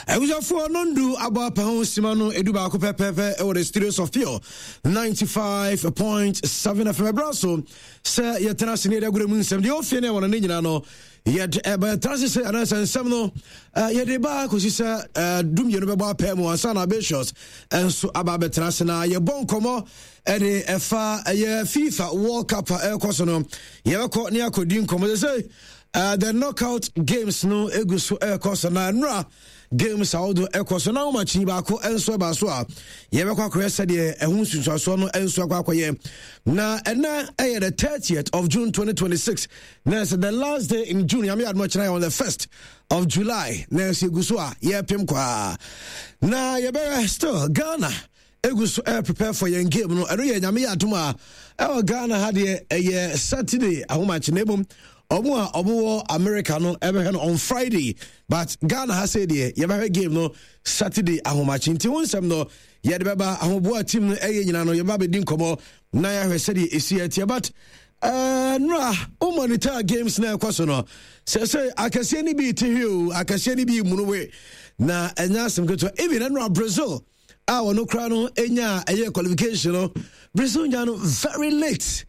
Abusuafoɔ, nondu abɔ apa ho sima no 11 pɛpɛpɛ ɛwɔ the studios of Pure 95.7 FM. Ɛberɛ so sɛ yɛtena ase ne yɛde agorɔ mu nsɛm deɛ ɔfie ne ɛwɔ no ne nyinaa no yɛde ɛba. Yɛtena ase sɛ anaasɛ nsɛm no yɛde ba kɔsi sɛ 12 bɛbɔ apɛ mu ansa na Abatius nso aba abɛtena ase na yɛbɔ nkɔmmɔ ɛde ɛfa ɛyɛ FIFA World Cup a ɛrekɔ so no. Yɛbɛkɔ ne akɔdi nkɔmmɔ sɛ the knockout games no egu so ɛrekɔ so, na nnora games ahodoɔ ɛkɔ so, na ahomakye baako nso ɛba so a yɛbɛkɔ akɔyɛ sɛdeɛ ɛho nsunsuasoɔ no nso akɔ akɔyɛ. Na ɛnɛ ɛyɛ the 30th of June 2026, na ɛsɛ the last day in June. Nyame adom, kyerɛ on the 1st of July, na ɛsɛ egu so a yɛrepem kwaa na yɛbɛyɛ. Still Ghana egu so ɛɛ prepare for yɛn game no. Ɛno yɛ Nyame yɛ adom a, ɛwɔ Ghana ha deɛ ɛyɛ Saturday ahomakye, na mmom ɔmo a ɔmo wɔ America no ɛbɛhwɛ no on Friday, but Ghana ha sɛ deɛ yɛbɛhwɛ game no Saturday ahomakye. Nti ho nsɛm no yɛde bɛba, ahoboa team no ɛyɛ nyina no yɛba bɛdi nkɔmmɔ na yɛahwɛ sɛdeɛ ɛsi ɛteɛ. But nora wo monitor games na ɛkɔ so no, sɛ akɛseɛ no bi te hwe o, akɛseɛ no bi munu we, na ɛnyɛ asɛm ketewa. Even ɛnora Brazil a ɔno koraa no nya ɛyɛ qualification no, Brazil nya no very late.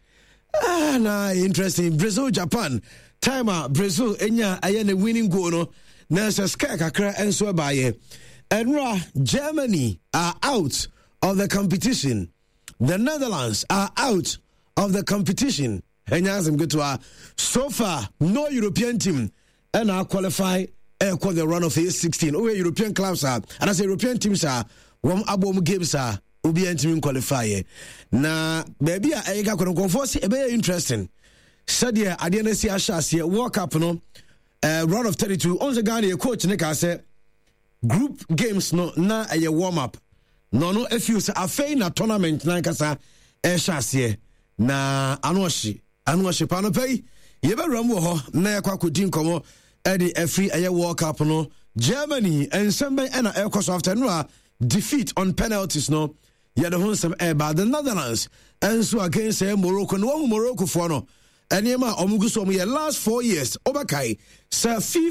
Ah, na interesting, Brazil Japan time a Brazil nya ɛyɛ ne winning goal no, na ɛsɛ scare kakra nso ɛbaayɛ. Ɛnora Germany are out of the competition, the Netherlands are out of the competition. Ɛnyɛ asɛm ketewa. So far no European team ɛna qualify ɛkɔ the run of a 16. Woyɛ European clubs a anaasɛ European teams a wɔn abɔ wɔn games a, obiara ntumi qualify yɛ. Na baabi a ɛyɛ kakɔ no, nkɔfoɔ sɛ ɛbɛyɛ interesting sɛdeɛ adeɛ no asi ahyɛ aseɛ World Cup no, round of 32. Ɔn sɛ Ghana yɛ coach ne kaa sɛ group games no na ɛyɛ warm up, na ɔno afiw sɛ afei na tournament nankasa ɛhyɛ aseɛ na ano ɔhye, ano ɔhye paa no pɛ yi. Yɛbɛwura mu wɔ hɔ na yɛkɔ akɔdi nkɔmmɔ ɛde afiri ɛyɛ World Cup no. Germany nsɛm bɛn ɛna ɛrekɔ so after no a defeat on penalties no? Yɛde ho nsɛm ɛreba. The Netherlands nso against ɛyɛ Morocco no, wɔhu Morocco foɔ no nneɛma a wɔn gu so wɔn yɛ last 4 years. Wɔbɛkae sɛ FIFA